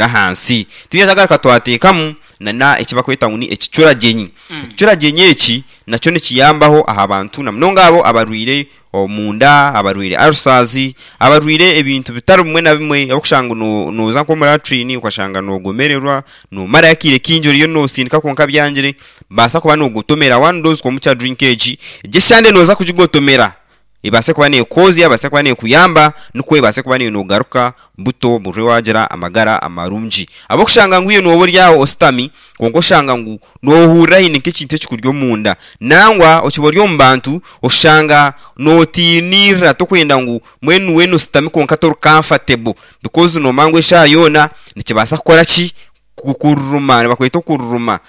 Ahansi. Twija twagaruka twateekamu na eki barikweta ngu ni ekicuragyenyi. Ekicuragyenyi eki nakyo nikiyambaho aha bantu na munonga abo abarwaire omunda, abarwaire ulcers, abarwaire ebintu bitari bimwe na bimwe orikushanga ngu nooza nk'omu latrine okashanga noogomererwa, noomarayo akaire kaingi oriyo noosindika kwonka byangire, baasa kuba noogotomera one dose komukya drink egi. Egi eshande nooza kugigotomera. Ebaase kuba neekwozya, ebaase kuba neekuyamba, nikwo ebaase kuba naiwe noogaruka buto buri waagira amagara amarungi. Ahabw'okushanga ngu iwe nooba ori aho oshutami kwonka oshanga ngu noohurira haine nk'ekintu ekikuri omunda. Nangwa okiba ori omu bantu oshanga nootiinirira torikwenda ngu mbwenu weena oshutami kwonka tori comfortable because noomanya ngu eshaaha yoona nikibaasa kukora ki? Kukururuma, nibakweta okururuma.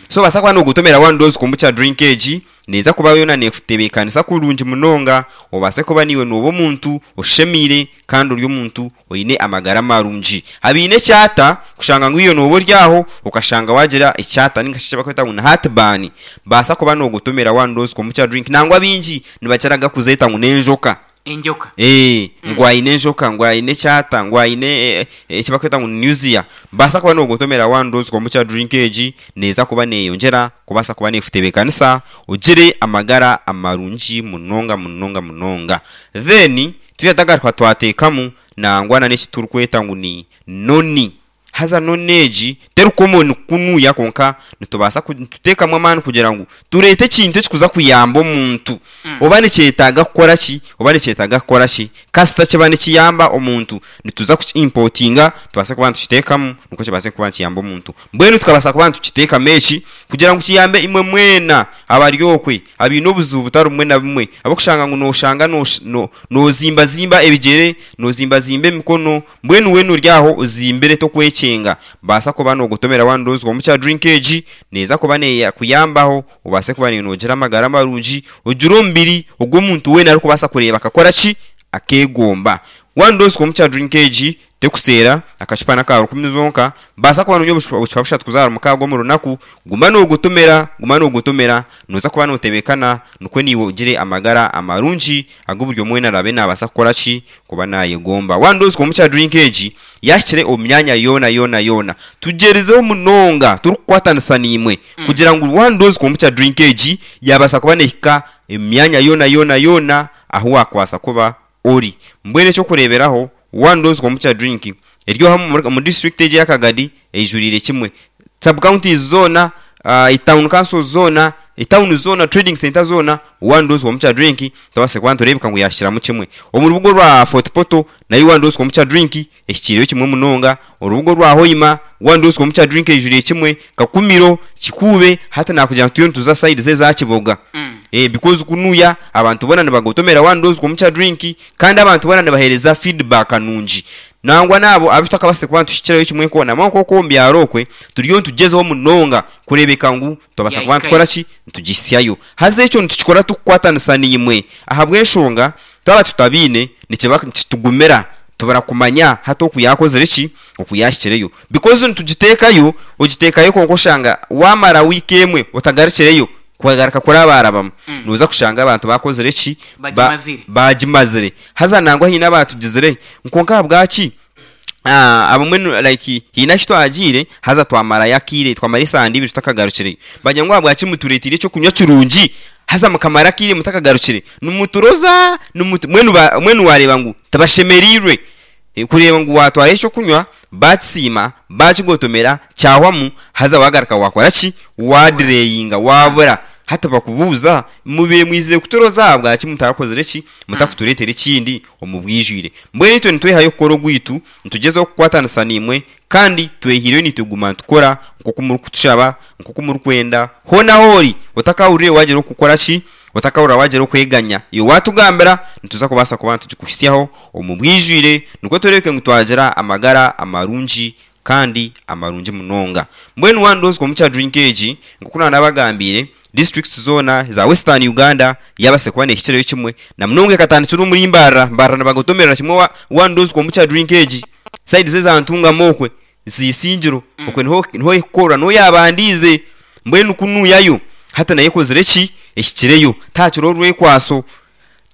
So obaasa kuba noogotomera one dose kombucha drink egi, neeza kuba yoona neekutebeekanisa kurungi munonga, obaase kuba naiwe nooba omuntu oshemeire kandi ori omuntu oine amagara marungi. Abaine ekyata, kushanga ngu iwe nooba ori aho okashanga waagira ekyata ninga shi eki barikweta ngu ni heartburn, baasa kuba noogotomera one dose kombucha drink. Nangwa baingi nibakira kuzeeta ngu n'enjoka. Enjoka. Eeh, ngu aine enjoka, ngu aine ekyata, ngu aine eki barikweta ngu ni nausea. Baasa kuba noogotomera one dose kombucha drink egi, neeza kuba neeyongyera kubaasa kuba neekutebeekanisa ogire amagara amarungi munonga munonga munonga. Then twija twagaruka twateekamu nangwa na n'eki turikweta ngu ni noni. Haza noni egi teri common kunuya kwonka nitubaasa nituteekamu amaani kugira ngu tureete ekintu ekikuza kuyamba omuntu. Oba nikyetaaga kukora ki, oba nikyetaaga kukora ki, kasita kiba nikiyamba omuntu nituza kuki importinga tubaase kuba nitukiteekamu nikwo kibaase kuba nikiyamba omuntu. Mbwenu tukabaasa kuba nitukiteekamu eki kugira ngu kiyambe imwe mwena abari okwe abaine obuzibu butari bumwe na bumwe ahabw'okushanga ngu nooshanga noozimbazimba ebigyere, noozimbazimba emikono, Mbwenu weena ori aho ozimbire tokwekyenga, baasa kuba noogotomera one dose komukya drink egi neeza kuba neekuyambaho obaase kuba naiwe noogira amagara marungi, ogire omubiri ogu omuntu weena arikubaasa kureeba akakora ki? Akeegomba. One dose komukya drink egi tekuseera, akacupa n'aka rukumi zonka, baasa kuba noonywa obucupa bushatu kuza ahari mukaaga omu runaku, guma noogotomera, guma noogotomera, nooza kuba nootebeekana nikwo naiwe ogire amagara amarungi agu buri omwe weena araabe naabaasa kukora ki? Kuba naayegomba. One dose komukya drink egi yaahikire omu myanya yoona yoona yoona. Tugyerizeho munonga turikukwatanisa naimwe kugira ngu one dose komukya drink egi yaabaasa kuba neehika omu myanya yoona yoona yoona ahu waakubaasa kuba ori. Mbwenu eky'okureeberaho, one dose komukya drink eri oha omu disiturikiti egi eya Kagadi eijuriire kimwe. Sub counties zoona, town councils zoona, etawuni zoona, trading centre zoona, one dose komukya drink tubaase kuba nitureebeka ngu yaahikiramu kimwe. Omu rubuga orwa Fort Portal nayo one dose komukya drink ehikiireyo kimwe munonga. Orubuga orwa Hoima one dose komukya drink eijuriire kimwe. Kakumiro, Kikuube, hati naakugira ngu turiyo nituza sayidi z'eza Kiboga. Because kunuya abantu boona nibagotomera one dose komukya drink kandi abantu boona nibaheereza feedback nungi. Nangwa n'abo abu tutakabaasize kuba nituhikirayo kimwe nk'oku nangwa nk'oku omu byaro okwe turiyo nitugyezaho munonga kureebeka ngu twabaasa kuba nitukora ki? Nitugisyayo. Haza ekyo nitukikora turikukwatanisa naimwe ahabw'enshonga twaba tutabaine nikiba nikitugumira tubura kumanya hati oku yaakozire ki? Oku yaahikireyo. Because nitugiteekayo, ogiteekayo kwonka oshanga waamara wiiki emwe otagarukireyo kugaruka kurabarabamu, nooza kushanga abantu baakozire ki? Bagimazire. Baagimazire. Haza nangwa haine abaatugizire kwonka ahabwaki abamwe like haine ahu twagiire haza twamarayo akaire, twamara esande ibiri tutakagarukireyo. Bagira ngu ahabwaki mutureeteire eky'okunywa kirungi haza mukamara akaire mutakagarukire? Nimuturoza, nimutu mbwenu mbwenu waareeba ngu tibashemereirwe kureeba ngu waatwara eky'okunywa baakisiima, baakigotomera, kyahwamu, haza waagaruka waakora ki? Waadireyinga, waabura. Hati bakubuuza, mubaire mwizire kuturoza ahabwaki mutarakozire ki? Mutakutureetera ekindi omu bwijwire. Mbwenu itwe nitwehayo kukora ogwaitu, nitugyezaho kukwatanisa naimwe, kandi twehaireyo naitwe kuguma nitukora nk'oku murikutushaba, nk'oku murikwenda. Hoona ahu ori, otakahurire waagira okukora ki? Otakahurira waagira okweganya, iwe waatugambira, nituza kubaasa kuba nitugikuhitsyaho omu bwijwire, nikwo tureebeke ngu twagira amagara amarungi kandi amarungi munonga. Mbwenu one dose komukya drink egi, nk'oku naanabagambiire, districts zoona eza Western Uganda yaabaasa kuba neehikireyo kimwe, na munonga ekatandikira omuri Mbarara, Mbarara nibagotomerera kimwe one dose komukya drink egi, sayidi z'eza Ntungamo okwe, Isingiro, okwe niho niho erikukorwa, niho yaabandiize. Mbwenu ku nuuyayo, hati nayo ekozire ki? Ehikireyo. Tihakiriho orwekwaso.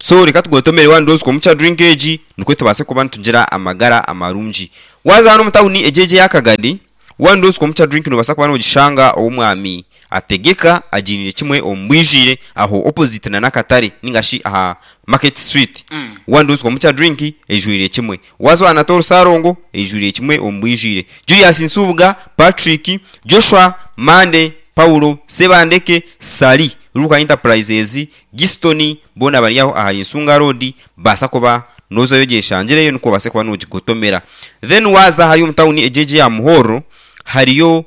So reka tugotomere one dose komukya drink egi nikwo tubaase kuba nitugira amagara amarungi. Waaza hanu omu tawuni egi egi eya Kagadi, one dose komukya drink nobaasa kuba nogishanga ow'omwami Ategeka agiiniire kimwe omu bwijwire aho opposite na n'akatare ninga shi aha market street. One dose komukya drink eijwire kimwe. Waaza owa Anatole Ssalongo eijwire kimwe omu bwijwire. Julius Nsubuga, Patrick, Joshua, Monday, Paulo, Ssebandeke, Ssali, Luka Enterprises, Giston boona bari aho ahari Nsunga Road baasa kuba nozayo ogyeshangireyo nikwo obaase kuba nogigotomera. Then waaza hariya omu tawuni egyo egyo eya Muhorro hariyo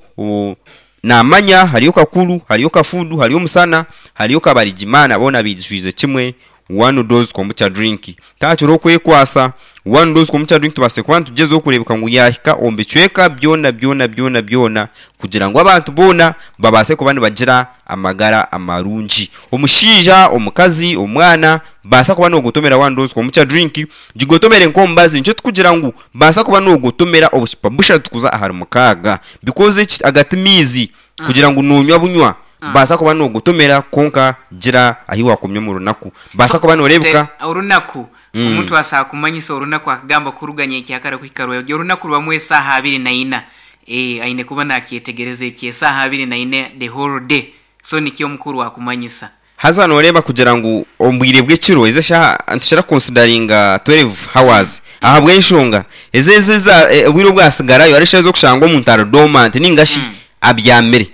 Namanya, hariyo Kakuru, hariyo Kafudu, hariyo Musana, hariyo Kabarigimana boona baijwize kimwe one dose kombucha drink. Tahakiriho okwekwasa, one dose kombucha drink tubaase kuba nitugyezaho kureebeka ngu yaahika omu bicweka byona byona byona byona kugira ngu abantu boona babaase kuba nibagira amagara amarungi. Omushaija, omukazi, omwana, baasa kuba noogotomera one dose kombucha drink, gigotomere nk'omubazi. Nikyo turikugira ngu baasa kuba noogotomera obucupa bushatu kuza ahari mukaaga because eki aga ti maizi kugira ngu noonywa bunywa. Baasa kuba noogotomera kwonka gira ahi waakomya omu runaku. Baasa kuba nooreebeka. Orunaku, omuntu asobola kumanyisa orunaku akagamba kuruga nyenkyakara kuhika rwebagyo. Orunaku rubamu esaaha abiri na ina. Aine kuba nakyetegereza eki, esaaha abiri na ina the whole day. So nikyo omukuru akumanyisa. Haza nooreeba kugira ngu omu bwire bw'ekiro ezi eshaaha nitukira kukonsidaringa 12 hours ahabw'enshonga ezi ezi eza obwire obwasigarayo hariho eshaaha ez'okushanga omuntu ari dormant ninga shi abyamire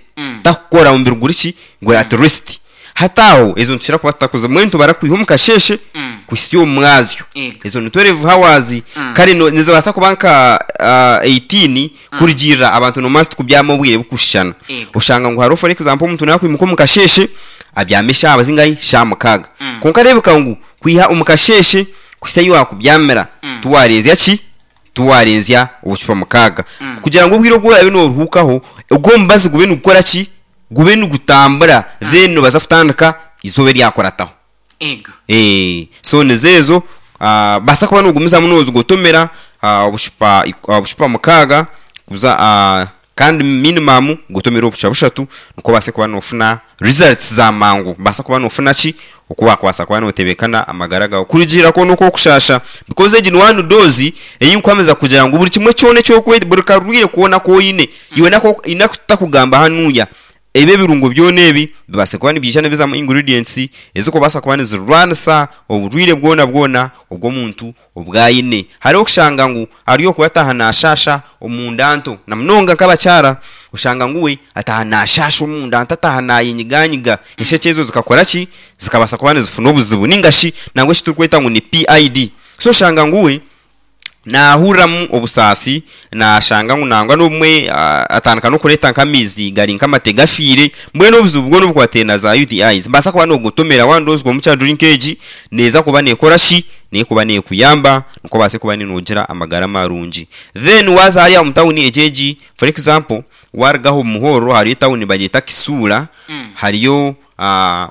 takukora omubiri guri ki guri at rest. Hati aho ezo nitukira kuba tutakuzi mbwenu nitubara kwiha omu kasheeshe kuhitsya omu mwazyo. Ezo ni 12 hours kare nizibaasa kuba nka 18 Kurugiirira abantu noomanya titukubyama obwire bukushushana. Oshanga ngu hariho for example omuntu naakwimuka omu kasheeshe abyame eshaaha zingahi? Shaaha mukaaga. Kwonka reebeka ngu kwiha omu kasheeshe kuhitsya ahi waakubyamira tiwaarenzya ki? Tiwaarenzya obucupa mukaaga. Kugira ngu obwire obu oraabe nooruhuukaho, ogwo omubazi gube nigukora ki? Gube nigutambura then noobaasa kutandika eizooba eryakurataho. Ego. Eeh so nizo ezo baasa kuba nogumizamu nozigotomera obushupa obushupa mukaaga kuza kandi minimum gotomere obushupa bushatu nikwo obaase kuba nofuna results za mangu obaase kuba nofuna ki oku wakubaasa kuba notebekana amagara gaawe kurugiirira kwona oku orikushasha because egi ni one dose ei nkuhamiza kugira ngu buri kimwe kyona eki orikweta buri karwaire koona aku oine iwe naku tutakugamba hanuya Ebi ebirungo byona ebi bibaase kuba nibiija nibizamu ingredients ezikubaasa kuba nizirwanisa oburwaire bwona bwona obw'omuntu obu aine. Hariho okushanga ngu ari okuba ataaha naashaasha omunda nto na munonga nk'abakyara oshanga ngu we ataaha naashaasha omunda nto ataaha naayenyiganyiga enshekye ezo zikakora ki? Zikabaasa kuba nizifuna obuzibu ninga shi nangwa eki turikweta ngu ni PID. So oshanga ngu we Naahuriramu obusaasi, naashanga ngu nangwa n'obumwe atandika n'okureeta nk'amaizi gari nk'amate gafiire. Mbwenu obuzibu bwona obukwataine na za UTIs, nibaasa kuba noogotomera waaba noozigwa omu drink egi, neeza kuba neekora ki? Neekuba neekuyamba nikwo obaase kuba noogira amagara marungi. Then waaza hariya omu tawuni egi egi, for example, waaruga aha omu Muhorro hariyo etawuni nibagyeta Kisuula, hariyo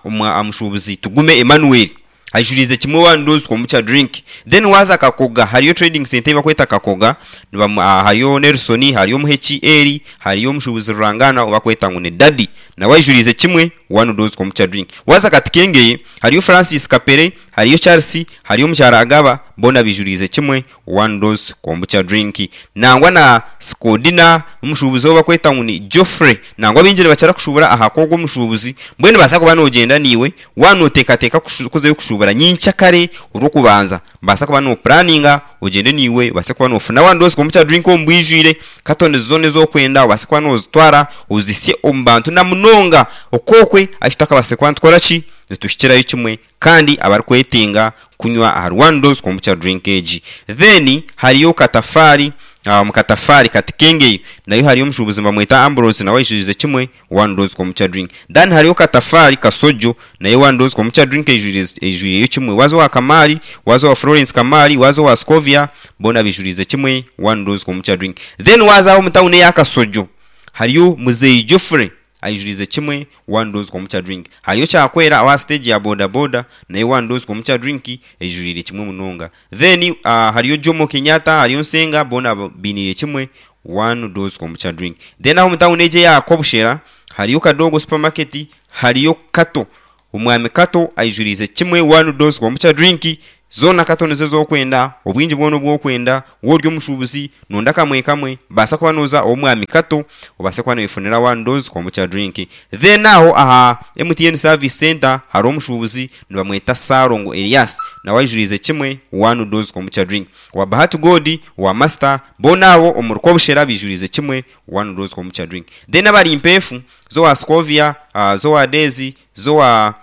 omushuubuzi Tugume Emmanuel. Aijuriize kimwe one dose kombucha drink then waaza Kakoga hariyo trading centre ei barikweta Kakoga nibamu hariyo Nelson hariyo Muheki Eli hariyo omushuubuzi rurangaanwa ou barikweta ngu ni Daddy nawe aijuriize kimwe one dose kombucha drink. Waaza Katikengeye hariyo Francis Kapere hariyo Charles hariyo omukyara Agaba boona baijuriize kimwe one dose kombucha drink. Nangwa na Sikodina omushuubuzi ou barikweta ngu ni Geoffrey nangwa baingi nibakira kushuubura aha kw'ogwo omushuubuzi mbwenu nibaasa kuba noogyenda naiwe Waaba nooteekateeka kuzayo kushuubura nyenkyakare Orwokubanza, baasa kuba noopuraninga ogyende naiwe obaase kuba noofuna one dose kombucha drink omu bwijwire, katoni zoona ezi orikwenda obaase kuba noozitwara ozihitsye omu bantu na munonga okwo okwe ahu tutakabaasire kuba nitukora ki? Nituhikirayo kimwe kandi abarikwetenga kunywa ahari one dose kombucha drink egi. Then hariyo katafaari, omu katafaari katikengeyo nayo hariyo omushuubuzi nibamweta Ambrose nawe aijurize kimwe One dose kombucha drink. Then hariho Katafaari Kasojo nayo one dose kombucha drink eijwireyo kimwe. Waaza owa Kamaari, waaza owa Florence Kamaari, waaza owa Scovia boona baijuriize kimwe one dose kombucha drink. Then waaza aha omu tawuni eya Kasojo hariyo Muzeeyi Geoffrey aijuriize kimwe one dose kombucha drink. Hariyo Kyakwera aho aha siteegi ya boda boda nayo one dose kombucha drink eijuriire kimwe munonga. Then hariyo Jomo Kenyatta, hariyo Nsenga boona bainiire kimwe One dose kombucha drink. Then aho omu tawuni egyo eya Kobushera hariyo Kadogo supermarket, hariyo Kato. Omwami Kato aijuriize kimwe One Dose Kombucha Drink zoona Kato nizo ezi orikwenda, obwingi bwona obu orikwenda, waaba ori omushuubuzi noyenda kamwe kamwe, baasa kuba nooza ow'omwami Kato obaase kuba nooyefunira One Dose Kombucha Drink. Then aho aha MTN Service Centre hariho omushuubuzi nibamweta Ssalongo Elias nawe aijuriize kimwe One Dose Kombucha Drink. Owa Bahati God, owa Master, boona abo omuri Kobushera baijuriize kimwe One Dose Kombucha Drink. Then abari Mpeefu, z'owa Scovia, z'owa Daisy, z'owa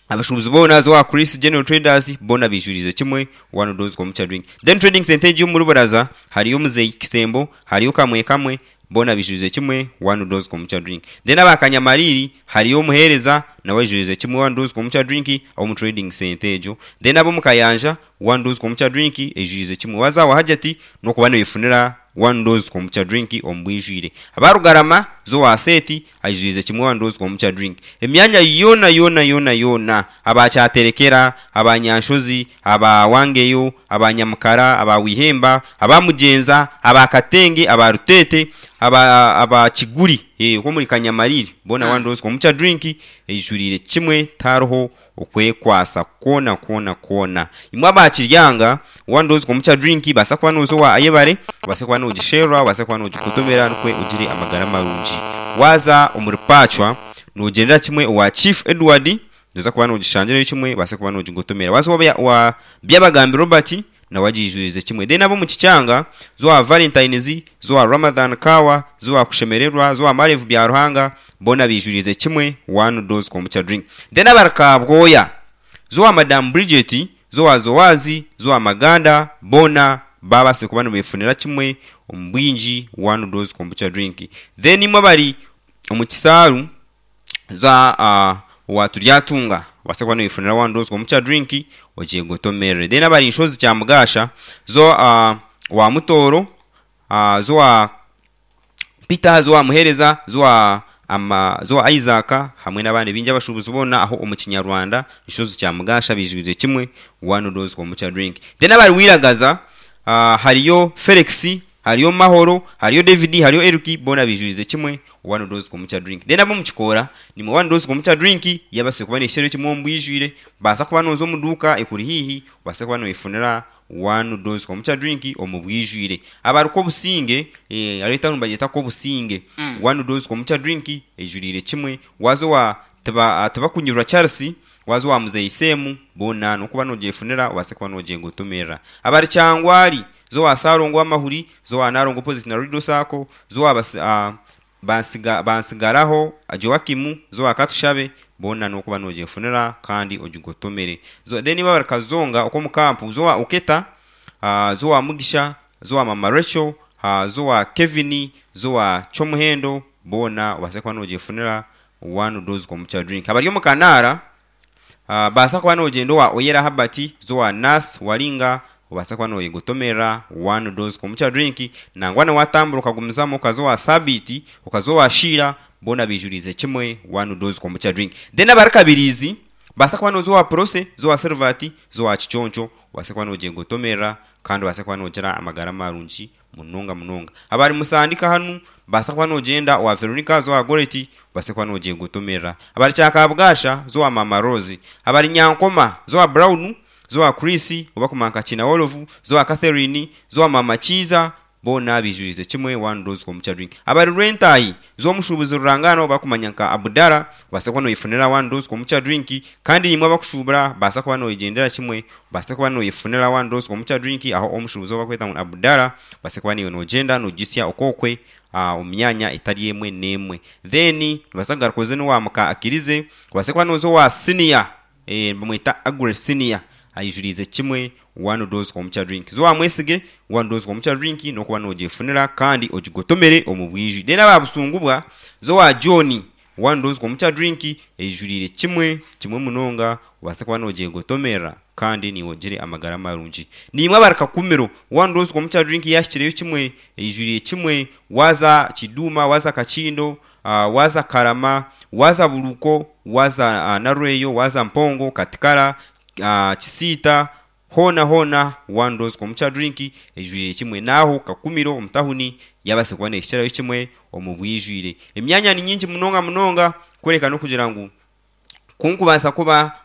abashuubuzi boona, z'owa Chris General Traders, boona baijuriize kimwe One Dose Kombucha Drink. Then Trading Centre egi omuri Buraza hariyo Muzei Kisembo, hariyo Kamwe Kamwe, boona baijuriize kimwe One Dose Kombucha Drink. Then aba Kanyamariri hariyo Omuheereza nawe aijuriize kimwe One Dose Kombucha Drink omu Trading Centre egyo. Then ab'omu Kayanja One Dose Kombucha Drink eijuriize kimwe. Waaza awa Hajati n'okuba noyefunira One Dose Kombucha Drink omu bwijwire. Aba Rugarama, zo owa Seeti aijuriize kimwe One Dose Kombucha Drink. Emyanya yoona yoona yoona yoona, aba Kyaterekera, aba Nyanshozi, aba Wangeyo, aba Nyamukara, aba Wihemba, aba Mugyenza, aba Katenge, aba Ruteete, aba aba Kiguri, okwo omuri Kanyamariri, boona One Dose Kombucha Drink eijuriire kimwe tihariho okwekwasa kwona kwona kwona. Imwe aba Kiryanga, one dose kombucha drink baasa kuba nooza owa Ayebare, obaase kuba noogisherura, obaase kuba noogikotomera nikwo ogire amagara marungi. Waaza omuri Pacwa, noogyendera kimwe owa Chief Edward, nooza kuba noogishangirayo kimwe obaase kuba noogigotomera. Waaza owa Byabagambi Robert, nawe agiijurize kimwe. Then ab'omu Kikyanga, za owa Valentines, za owa Ramadhan Kawa, za owa Kushemererwa, za owa Marevu Byaruhanga, boona baijuriize kimwe one dose kombucha drink. Then abari Kabwoya, za owa Madam Bridget, za owa Zowazi, za owa Maganda, boona baabaasire kuba nibeefunira kimwe omu bwingi one dose kombucha drink. Then imwe abari omu Kisaaru, za owa Turyatunga obaase kuba noyefunira one dose kombucha drink ogyegotomerere. Then abari Nshozi Kyamugasha zo owa Mutooro, zo owa Peter, zo owa Muhereza, zo owa zo owa Isaac hamwe n'abandi baingi abashuubuzi boona aho omu Kinyarwanda Nshozi Kyamugasha baijwize kimwe one dose kombucha drink. Then abari Wiragaza hariyo Felix, hariyo Mahoro, hariyo David, hariyo Eric boona baijwize kimwe One dose kombucha drink. Then ab'omu kikoora nimwe one dose kombucha drink yabaase kuba neekikirayo kimwe omu bwijwire. Baasa kuba nooza omu duuka ekuri haihi obaase kuba nooyefunira one dose kombucha drink omu bwijwire. Abari Kobusinge, hariho etauni nibagyeta Kobusinge, one dose kombucha drink eijuriire kimwe. Waaza owa Tibakunyurwa Charles, waaza owa Muzeeyi Seemu, boona n'okuba noogyefunira obaase kuba noogyegotomerera. Abari Kyangwali, za owa Ssalongo Amahuri, za owa Nalongo Opposite na Rido Sacco, za owa Bansigaraho Joakim, za owa Katushabe, boona n'okuba noogyefunira kandi ogigotomere. Then abari Kazonga okw'omu kampu, za owa Oketa, za owa Mugisha, za owa Mama Rachel, za owa Kevin, za owa Kyomuhendo, boona obaase kuba noogyefunira one dose kombucha drink. Abari omu Kanaara, Baasa kuba nogyenda owa Oyera Herbert, za owa Nurse Waringa, obaasa kuba noyegotomerera one dose kombucha drink, nangwa na watambura okagumizamu okaza owa Sabiiti, okaza owa Sheila, boona baijuriize kimwe one dose kombucha drink. Then abari Kabiriizi, baasa kuba noza owa Prossy, za owa Silvert, za owa Kiconco, obaase kuba nogyegotomerera kandi obaase kuba nogira amagara marungi munonga munonga. Abari Musandika hanu, baasa kuba nogyenda owa Veronica za owa Goreti, obaase kuba nogyegotomerera. Abari Kyakabwasha, za owa Maama Rose. Abari Nyankoma, za owa Brown, za owa Chris, oba kumanya nka Kinawolovu, za owa Catherine, za owa Maama Kiiza, boona baijuriize kimwe one dose kombucha drink. Abari Rwentaahi, za omushuubuzi rurangaanwa ou barikumanya nka Abudara, obaase kuba noyefunira one dose kombucha drink. Kandi naimwe abakushuubura, baasa kuba noyegyendera kimwe, obaase kuba noyefunira one dose kombucha drink aho omushuubuzi ou barikweta ngu ni Abudara, obaase kuba naiwe nogyenda nogisya okwokwe omu myanya etari emwe n'emwe. Then nobaasa kugaruka oze n'owa muka Akirize, obaase kuba nooza owa siniya, nibamweta Aggrey Senior, aijuriize kimwe one dose kombucha drink. Za owa Mwesige, one dose kombucha drink n'okuba noogyefunira kandi ogigotomere omu bwijwire. Then aba Busungubwa, za owa John, One dose kombucha drink eijuriire kimwe kimwe munonga obaase kuba nogyegotomerera kandi naiwe ogire amagara marungi. Naimwe abari Kakumiro, one dose kombucha drink yahikireyo kimwe eijuriire kimwe waaza Kiduuma, waaza Kakindo, waaza Karama, waaza Buruko, waaza Narweyo, waaza Mpongo, Katikara, Kisiita, Hoona hoona one dose kombucha drink eijwire kimwe n'aho Kakumiro omu tahuni yabaasa kuba neehikirayo kimwe omu bwijwire. Emyanya ni nyingi munonga munonga kureka n'okugira ngu Ku nkubaasa kuba,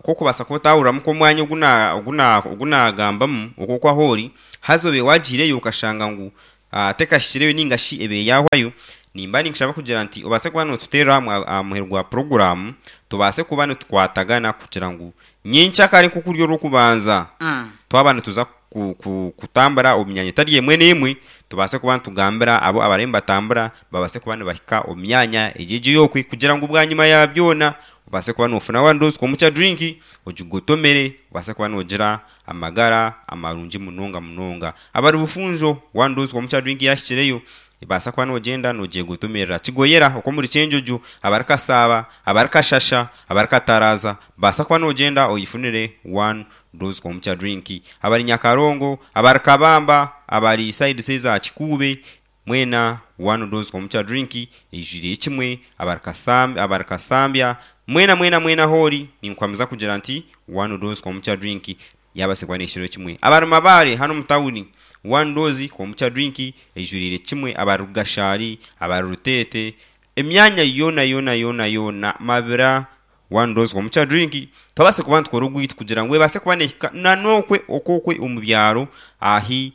ku okubaasa kuba otahuriramu nk'omwanya ogu na, ogu na, ogu naagambamu, okwo oku ahu ori, haza obe waagiireyo okashanga ngu tekahikireyo nainga shi ebe yaahwayo, nimba ninkushaba kugira nti obaase kuba nootuteerera aha muheru gwa puroguraamu, tubaase kuba nitukwatagana kugira ngu nyenkyakare nk'oku ruri orw'okubanza, twaba nituza kutambura omu myanya etari emwe n'emwe, tubaase kuba nitugambira abo abariyo nibatambura babaase kuba nibahika omu myanya egyo egyo ey'okwe kugira ngu bwanyima ya byona obaase kuba noofuna one dose komukya drink ogigotomere obaase kuba noogira amagara amarungi munonga munonga. Abari Bufunjo one dose komukya drink yaahikireyo ebaasa kuba noogyenda noogyegotomerera. Kigoyera okw'omuri Kyenjojo, abari Kasaaba, abari Kashasha, abari Kataraaza baasa kuba noogyenda oyefunire one dose komukya drink. Abari Nyakarongo, abari Kabamba, abari sides eza Kikuube Mwena one dose komukya drink eijwire kimwe abari Kasambya abari Kasambya mwena mwena mwena ahoori ninkuhamiza kugira nti one dose komukya drink yabaasa kuba nehikirayo kimwe. Abari Mabaare hanu omu tawuni one dose komukya drink eijwiriire kimwe abari Rugashari abari Ruteete emyanya yoona yoona yoona yoona Mabira One dose komukya drink twabaasa kuba nitukora ogwaitu kugira ngu ebaase kuba nehika na nokwe okwokwe omu byaro ahi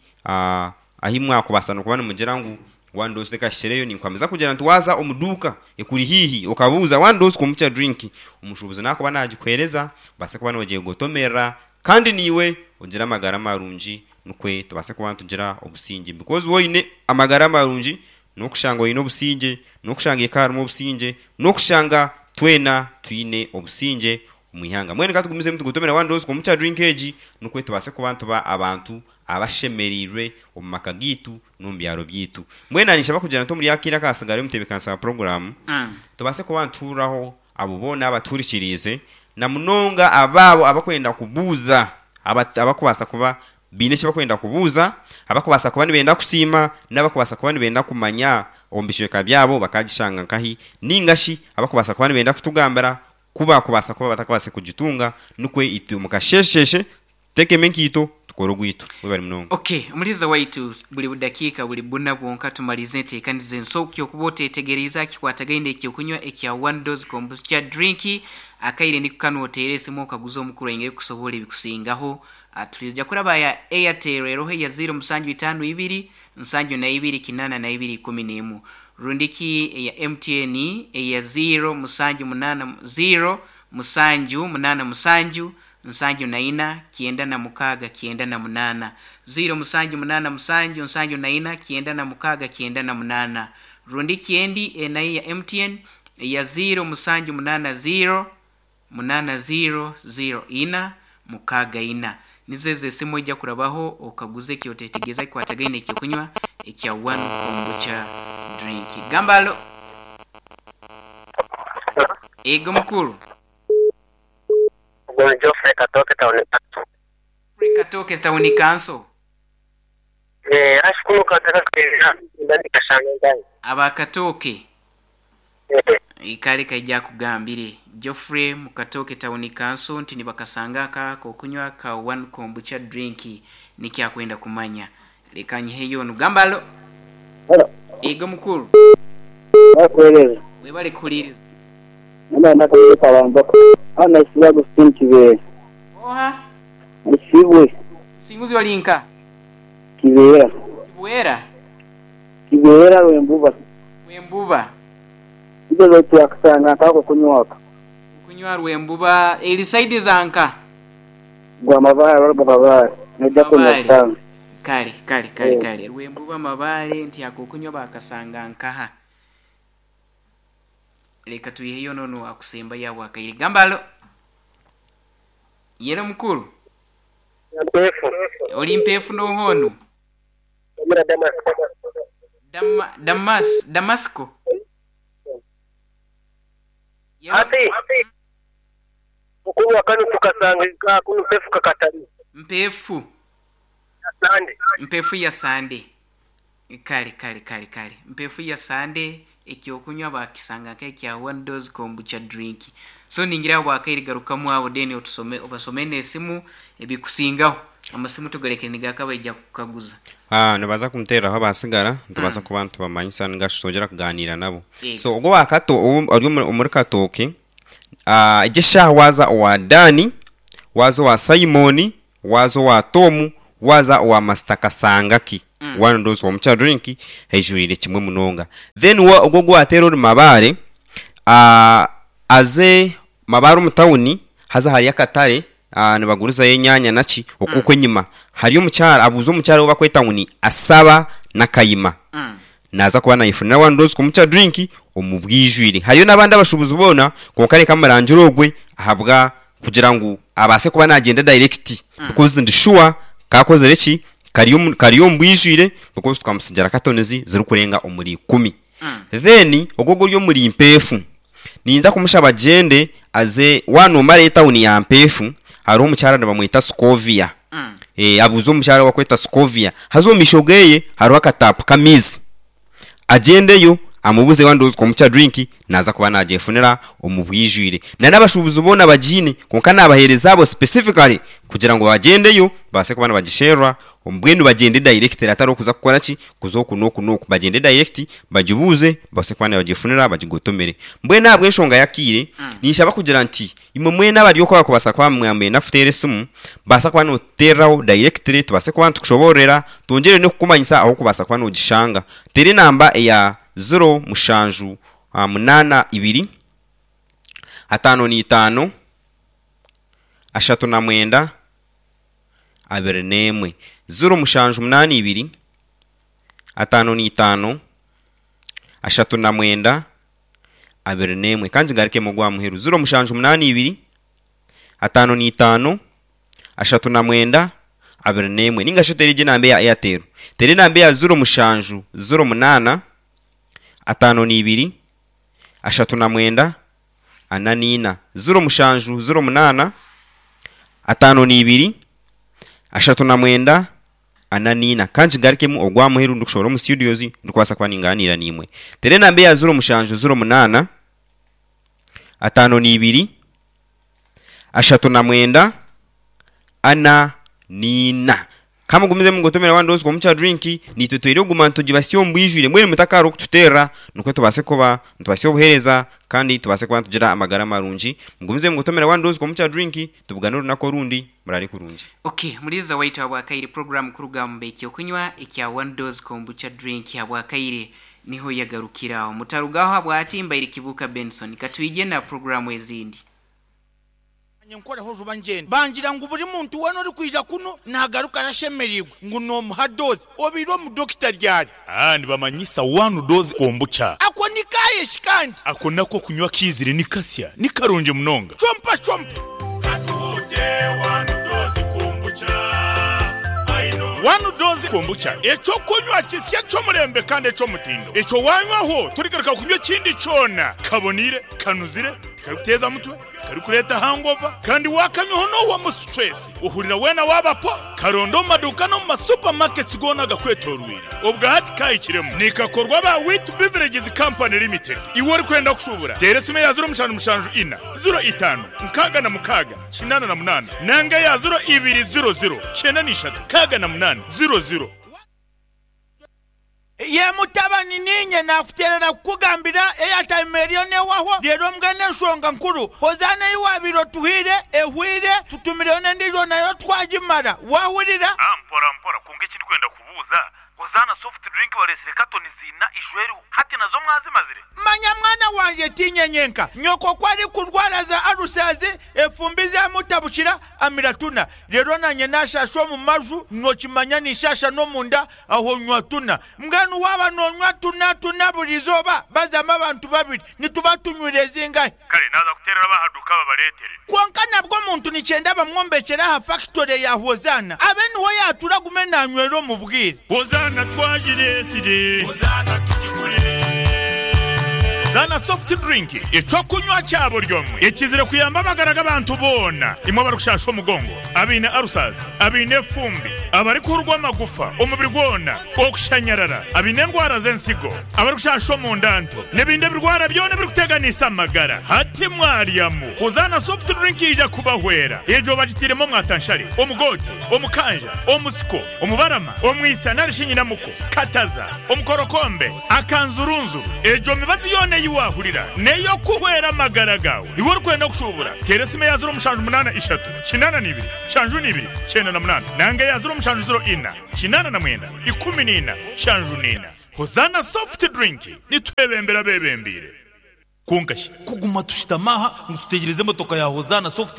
ahi mwakubaasa nokuba nimugira ngu one dose tekahikireyo. Ninkuhamiza kugira nti waaza omu duuka ekuri haihi okabuuza one dose komukya drink omushuubuzi nakuba nagikuheereza obaase kuba nogyegotomerera kandi naiwe ogire amagara marungi nikwe tubaase kuba nitugira obusingye because waaba oine amagara marungi N'okushanga oine obusingye, n'okushanga eka harimu obusingye, n'okushanga twena twine obusingye omu ihanga. Mbwenu ka tugumizemu tugotomere one dose komukya drink egi nukwe tubaase kuba nituba abantu abashemereirwe omu maka gaitu n'omu byaro byaitu. Mbwenu naanye ninshaba kugira nti omuri akaire akahatsigaire omutebeekanisa wa puroguraamu tubaase kuba nituhuriraho abo boona abatuhurikiriize na munonga abaabo abakwenda kubuuza abakubaasa kuba Baine eki barikwenda kubuuza, abarikubaasa kuba nibenda kusiima, n'abarikubaasa kuba nibenda kumanya omu bicweka byabo bakaagishanga nkahi, nainga shi abarikubaasa kuba nibenda kutugambira ku baakubaasa kuba batakubaasa kugitunga, nikwo itwe omu kasheesheeshe tuteekemu enkaito tukore ogwaitu. Webare munonga. Ok, omuhuriza waitu, buri budakiika buri buna bwonka tumarize enteekaniza ensoki okuba oteetegeriize aha kikwatagaine eky'okunywa ekya One Dose Kombucha Drink. Akaire niko kanu oteere esimu okaguze omukuru aingire kukusoboora ebikusingaho. Twija kuraba ya Airtel eroho eya ziiro musanju itaano ibiri nsanju na ibiri kinaana na ibiri ikumi n'emu rundiki eya MTN eya ziiro musanju munaana ziiro musanju munaana musanju nsanju na ina kyenda na mukaaga kyenda na munaana ziiro musanju munaana musanju nsanju na ina kyenda na mukaaga kyenda na munaana rundiki endi enayo eya MTN eya ziiro musanju munaana ziiro Munaana ziiro ziiro ina mukaaga ina. Nizo ezo esimu oija kurabaho okaguza eki otetegeeza ekikwatagaine n'ekyokunywa ekya One Kombucha Drink. Gamba alo. Ego mukuru. Ogwo ni Geoffrey Katooke Town Council. Geoffrey Katooke Town Council. Eh, ashi kunu kataka kwenda ndikashanga ngai. Aba Katooke. Kale kaija akugambire. Geoffrey mu Katooke Town Council nti nibakasanga aka ak'okunywa ka One Kombucha Drink nikyo akwenda kumanya. Leka nyiheyo onu. Gamba alo. Halo. Igo mukuru. Nakuhereza. Webale kuhuliriza. Naba nakaire kabamboka. Hano naisibwe Agustine Kibeera. Oha? Naisibwe. Musinguzi oli nka? Kibeera. Kibwera? Kibeera Rwembuba. Rwembuba. Ijo baitu yakasanga nkako kunywa aka. Okunywa Rwembuba eri side za nka? Gwa Mabaale baruga Mabaale noija kunywa Mabaale. kusanga. Kale kale kale kale Rwembuba Mabaale nti akokunywa bakasanga nkaha? Leka twiheyo nono akusembayo aho akaire. Gamba alo. Yelo mukuru. Mpeefu. Oli mpeefu noha onu? Omura Damasiko. Dama, Damas, Damasiko. Yelo. Hati okunywa kanu tukasanga ka kunu mpeefu kakatari. Mpeefu. Ya Sande. Mpeefu ya Sande. Kale, kale, kale, kale. Mpeefu ya Sande ekyokunywa bakisanga nk'ekya one dose kombucha drink. So ningira aho bwakaire garukamu aho then otusome obasome n'esimu ebikusingaho. Amasimu tugarekere nigakabaija kukaguza. Nibaza kumuteereraho abaatsigara nitubaasa kuba nitubamanyisa ninga shi twongyera kugaaniira nabo. Yego. So ogwo owa Kato ou ori omuri Katooke. Egi eshaaha waaza owa Daani, waaza owa Simoni, waaza owa Tomu, waaza owa Masita Kasangaki. One dose kombucha drink eijwire kimwe munonga. Then ogwo ogu waateera ori Mabaare, aze Mabaare omu tawuni haza hariyo akatare nibagurizayo enyaanya naki, okwo okwo enyima hariyo omukyara, abuuze omukyara ou barikweta ngu ni Asaba Nakayima. Naaza kuba naayefunira one dose kombucha drink omu bwijwire. Hariyo n'abandi abashuubuzi boona kwonka reka murangire ogwe ahabwa kugira ngu abaase kuba naagyenda direct because ndi sure kaakozire ki? Kari omu kari omu bwijwire because tukamutsigira katonizi zirikurenga omuri ikumi. Then ogwo oguri omuri Mpeefu, ninza kumushaba agyende aze waaba noomara etawuni ya Mpeefu hariho omukyara nibamweta Scovia. Abuuze omukyara ou barikweta Scovia haza omu maisho geeye hariho akataapu k'amaizi. Agyendeyo amubuuze waaba ndowooza kombucha drink naaza kuba naagyefunira omu bwijwire. Na n'abashuubuzi boona bagiine kwonka naabaheereza abo specifically kugira ngu bagyendeyo babaase kuba nibagisherura mbwenu bagyende directly hatariho kuza kukora ki, kuza oku n'oku n'oku. Bagyende direct bagibuuze babaase kuba nibagyefunira bagigotomere. Mbwenu ahabw'enshonga y'akaire, ninshaba kugira nti Imwe mwena abari okwo abarikubaasa kuba mwamwenda kututeera esimu, baasa kuba nootuteereraho directly tubaase kuba nitukushoboororera, twongyere n'okukumanyisa ahu orikubaasa kuba noogishanga. Teera enamba eya ziro mushanju munaana ibiri, ataano n'eitaano, ashatu na mwenda, abiri n'emwe. 0782, 55, 39, 21. Ka ngigarukemu ogw'aha muheru. 0782, 55, 39, 21. Nainga shi oteere egyo enamba eya Airtel. Teera enamba eya 0708, 52, 39, 44. 0708, 52, 39, 44. Ka nkigarukemu ogwa muheru ndikushohora omu studios ndikubaasa kuba ningaaniira naimwe. Teera enamba eya 0708, 52, 39, 44. Ka mugumizemu mugotomera one dose komukya drink, naitwe twine kuguma nitugibasya omu bwijwire. Mbwenu mutakaara okututeerera nikwo tubaase kuba nitubasya obuheereza kandi tubaase kuba nitugira amagara marungi. Mugumize mugotomera one dose komukya drink, tubugane orunaku orundi. Muraare kurungi. Ok, Muliiza waitu habwakaire program kuruga omu Ekyokunywa ekya One Dose Kombucha Drink habwakaire niho yagarukiraho. Mutarugaho habwati mbaire Kibuuka Benson. Katwije na program ezindi. Naanye nkoreho juba ngyende. Bangira ngu buri muntu weena orikwija kunu naagarukayo ashemereirwe ngu noomuha doozi. Obaire omudokita ryari? Aa nibamanyisa one dose kombucha. Ako ni kaaye shi kandi? Ako nako okunywa kaizire ni kasya, ni karungi munonga. Chompa chompa. Katuhute one dose kombucha, I know. One dose kombucha, eky'okunywa kisya eky'omurembe kandi eky'omutindo. Ekyo waanywaho torigaruka kunywa ekindi kyona. Kaboniire, kanuzire, tikarikuteeza mutwe. Tikarikureeta hangover kandi waakanywaho noohwamu stress ohurira weena waaba po. Karonda omu maduuka n'omu ma supermarkets goona agakwetooroire. Obwa hati kaahikiremu. Nikakorwa aba Wheat Beverages Company Limited. Iwe orikwenda kushuubura, teera esimu eya 0774 05 66 88 nanga eya 0200 93 68 00. Ye mutabani, niinye naakuteerera kukugambira eyataima eriyo neehwaho, reero mbwenu enshonga nkuru, Hozaana ei waabaire otuhaire ehweire, tutumireyo n'endiijo nayo twagimara. Waahurira? Ah mpora mpora, kwonka eki ndikwenda kubuuza, Hozaana soft drink bareetsire katoni ziina ijo eriho, hati nazo mwazimazire? Manya mwana wangye, tiinye nyenka. Nyoko ku arikurwara za alusazi, efumbi zaamutabukira, amira tuna. Reero naanye naashaasha omu maju, nookimanya ninshaasha n'omunda, Aho nywa tuna. Mbwenu waaba noonywa tuna tuna buri izooba, bazamu abantu babiri, nituba tunywire zingahi? Kare naaza kuteerera ab'aha duuka babareetere. Kwonka nabwo omuntu nikyenda bamwombekyere aha fakitore ya Hozaana, abe niho yaatura agume naanywera omu bwire. Hozaana twagireetsire. Hozaana tugigure. Zaana soft drink, eky'okunywa kya buri omwe ekizire kuyamba amagara g'abantu boona. Imwe abarikushasha omugongo, abaine ulcers, abaine efumbi, abarikuhurwa amagufa omubiri gwona, okushanyarara, abaine endwara z'ensigo, abarikushasha omunda nto, n'ebindi ebirwara byona ebirikuteganisa amagara. Hati mwaryamu Hozaana soft drink yaija kubahwera. Egyo bagitairemu omwatanshare, omugoote, omukanja, omusiko, omubarama, omwisa nari shi nyinamuko, kataza, omukorokombe, akanzurunzuru. Egyo mibazi yoona ei wa. waahurira n'ey'okuhwera amagara gaawe. Iwe orikwenda kushuubura, teera esimu eya 0783 82 72 98 nanga eya 0704 89 14 74. Hozaana Soft Drink, nitwebembera abeebembeire. Kwonka shi kuguma tushutami aha ngu tutegyereze emotoka ya Hozaana Soft.